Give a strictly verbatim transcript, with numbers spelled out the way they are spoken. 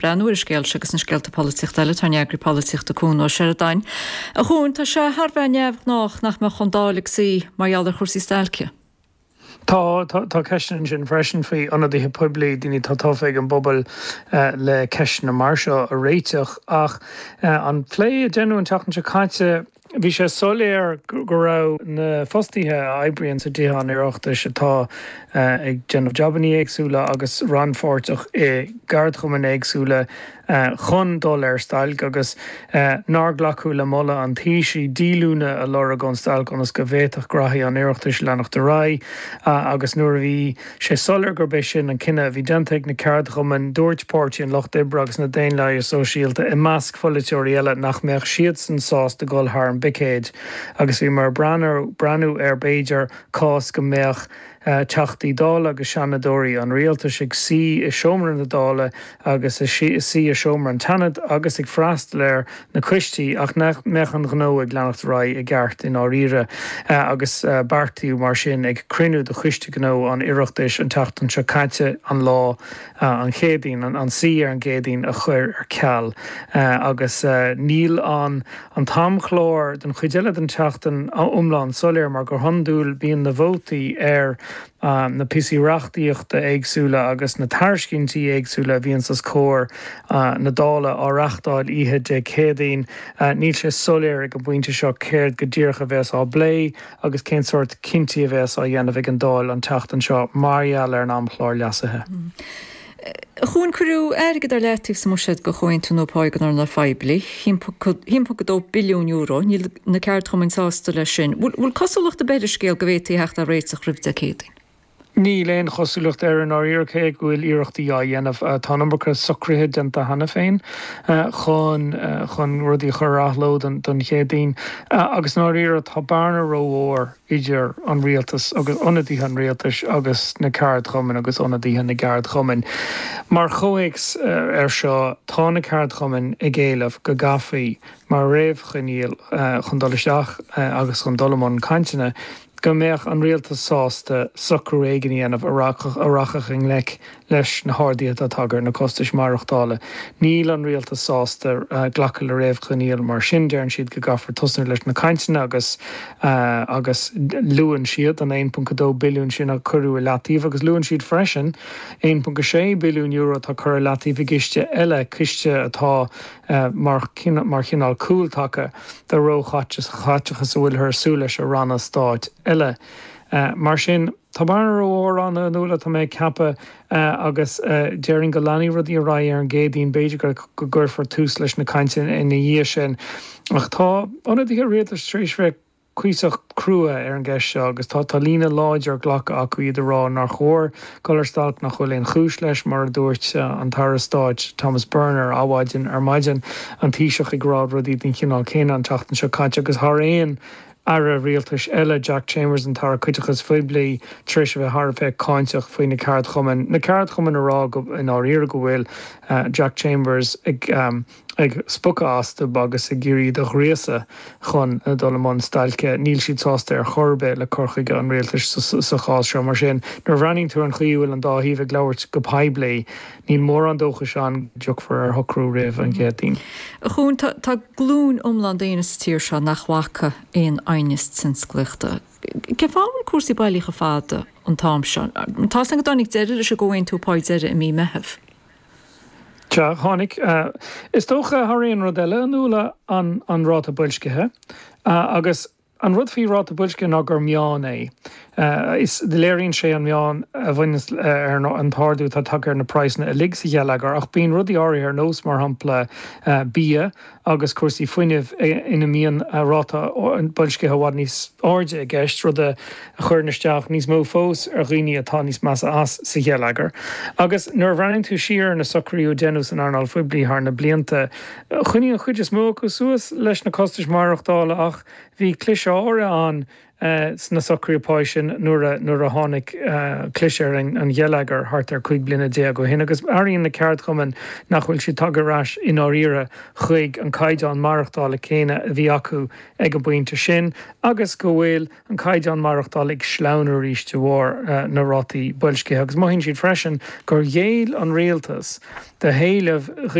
Breathnú ar an scéal seo agus na scéalta polaitíochta eile tá ár n-eagraí polaitíochta Cuan Ó Seireadáin. A Chuain, tá sé thar bheith neamhghnách nach mbeadh an Dáil ag suí mar gheall ar chúrsaí stailce. Tá tá ceisteanna ansin freisin faoi ionadaithe poiblí, daoine atá tofa ag an bpobal le ceisteanna mar seo a réiteach ach an plé a deineadh an tseachtain seo caite, bhí sé soiléir go raibh na fostaithe a oibríonn sa dTithe an Oireachtais atá ag déanamh jabanna éagsúla agus rannpháirteach i gceardchumainn éagsúla chun dul ar stailc agus nár glacadh le moladh an Taoisigh díolúine a lorg ón stailc ionas go bhféadfadh graithí an Oireachtais leanacht ar aghaidh agus nuair a bhí sé soiléir gurb é sin an cinneadh a bhí déanta ag na ceardchumainn, dúirt Páirtí an Lucht Oibre agus na Daonlathaithe Sóisialta i measc pholaiteoirí eile nach mbeadh siadsan sásta dul thar an bpicéad agus bhíomar ag breathnú ar b'fhéidir cás go mbeadh Teachtaí Dála agus Seanadóirí an Rialtais ag suí i seomra na Dála agus ag suí i seomra an tSeanaid agus ag freastal ar na coistí ach nach mbeadh an gnó ag leanacht ar aghaidh i gceart i ndáiríre agus beartaíodh mar sin ag cruinniú de Choiste Gnó an Oireachtais an tseachtain seo caite an lá an Chéadaoin, an suí ar an gCéadaoin a chur ar ceal agus níl an an t-amchlár don chuid eile den tseachtain iomlán soiléir mar go hiondúil bíonn na vótaí ar na píosaí reachtaíochta éagsúla agus na tairiscintí éagsúla a bhíonns os comhair na Dála á reachtáil oíche Dé Céadaoin. Níl sé soiléir ag an bpointe seo céard go díreach a bheas á bplé agus cén sórt cinntí a bheas á dhéanamh ag an Dáil an tseachtain seo mar gheall ar an amchlár leasaithe. A Chuain, cuireadh airgead ar leataobh sa mbuiséad do chomhaontú nua páí don earnáil phoiblí, haon ponc a dó billiún euro. Níl na ceardchumainn sásta leis sin. Bhfuil cosúlacht ar bith ar an scéal go bhféadfaí a theacht ar réiteach roimh Dé Céadaoin? Níl aon chosúlacht air i ndáiríre cé go bhfuil iarrachtaí á dhéanamh. Tá an iomarca socruithe déanta cheana féin chun chun rudaí a chur ar athló don Chéadaoin agus i ndáiríre tá bearna rómhór idir an rialtas agus ionadaithe an rialtais agus na ceardchumainn agus ionadaithe na gceardchumainn. Mar chomhthéacs ar seo, tá na ceardchumainn ag éileamh go gcaithfí mar réamhchoinníoll chun dul isteach agus chun dul i mbun cainteanna, go mbeadh an rialtas sásta socrú éigin a dhéanamh a rachadh i ngleic leis na harduithe atá tagtha ar na costais maireachtála. Níl an rialtas sásta glacadh le réamhchoinníoll mar sin, deireann siad go gcaithfear tosnú leis na cainteanna agus agus luann siad an aon ponc a dó billiún sin a cuireadh i leataobh agus luann siad freisin aon ponc a sé billiún euro atá curtha i leataobh i gciste eile, ciste atá mar mar chineál cúltaca do róchaiteachas a bhfuilthear ag súil leis ó ranna stáit eile. Mar sin, tá bearna rómhór ann, a Fhionnuala, tá mé ag ceapadh, agus déarfainn go leanfaidh rudaí ar aghaidh ar an gCéadaoin, b'fhéidir go gcuirfear tús leis na cainteanna ina dhiaidh sin. Ach tá ionadaithe rialtais tar éis bheith cuíosach crua ar an gceist seo agus tá tá líne láidir glactha acu, iad ag rá nár chóir dul ar stailc, nach bhfuil aon chúis leis, mar a dúirt an tAire Stáit Thomas Byrne ar Adhmhaidin ar maidin, an Taoiseach ag rá rudaí den chineál céanna an tseachtain seo caite agus thar aon aire rialtais eile, Jack Chambers, an tAire Caiteachais Phoiblí, tar éis a bheith thar a bheith cáinteach faoi na ceardchumainn, na ceardchumainn ag rá go i ndáiríre go bhfuil Jack Chambers ag ag spochadh astu agus ag iarraidh iad a ghríosadh chun dul i mbun stailce. Níl siad sásta ar chor ar bith le cur chuige an rialtais sa chás seo. Mar sin, nuair a bhreathnaíonn tú ar an chaoi a bhfuil an dá thaobh ag labhairt go poiblí, níl mórán dóchais ann go dtiocfar ar shocrú roimh an gCéadaoin. A Chuain, tá glúin iomlán daoine sa tír seo nach bhfaca aon aighneas tionsclaíochta. Cén fáth a bhfuil cúrsaí bailí chomh fada an t-am seo? Tá 's agam go dtáinig deireadh leis an gcomhaontú pá deiridh i mí Meitheamh. Sea, tháinig. Is dócha, thar aon rud eile, a Fhionnuala, an an ráta boilscithe. Agus an rud faoi ráta boilscithe ná gur meán é. Is léiríonn sé an meán a bhaineanns ar an t-ardú atá tagtha ar na praghsanna uilig sa gheilleagar, ach bíonn rudaí áirithe ar nós, mar shampla, bia agus cúrsaí fuinnimh ina mbíonn ráta boilscithe i bhfad níos airde i gceist, rud a chuireann isteach níos mó fós ar dhaoine atá níos measa as sa gheilleagar. Agus nuair a bhreathnaíonn tú siar ar na socruithe a deineadh san earnáil phoiblí thar na blianta, choinnigh an chuid is mó acu suas leis na costais maireachtála ach bhí cliseadh áirithe ann sna socruithe páí sin nuair a nuair a tháinig cliseadh ar an gheilleagar thart ar cúig bliana déag ó shin agus airíonn na ceardchumainn nach bhfuil siad tagtha ar ais i ndáiríre chuig an caighdeán maireachtála céanna a bhí acu ag an bpointe sin agus go bhfuil an caighdeán maireachtála ag sleamhnú arís de bharr na rátaí boilscithe agus mothaíonn siad freisin gur ghéill an rialtas do héilimh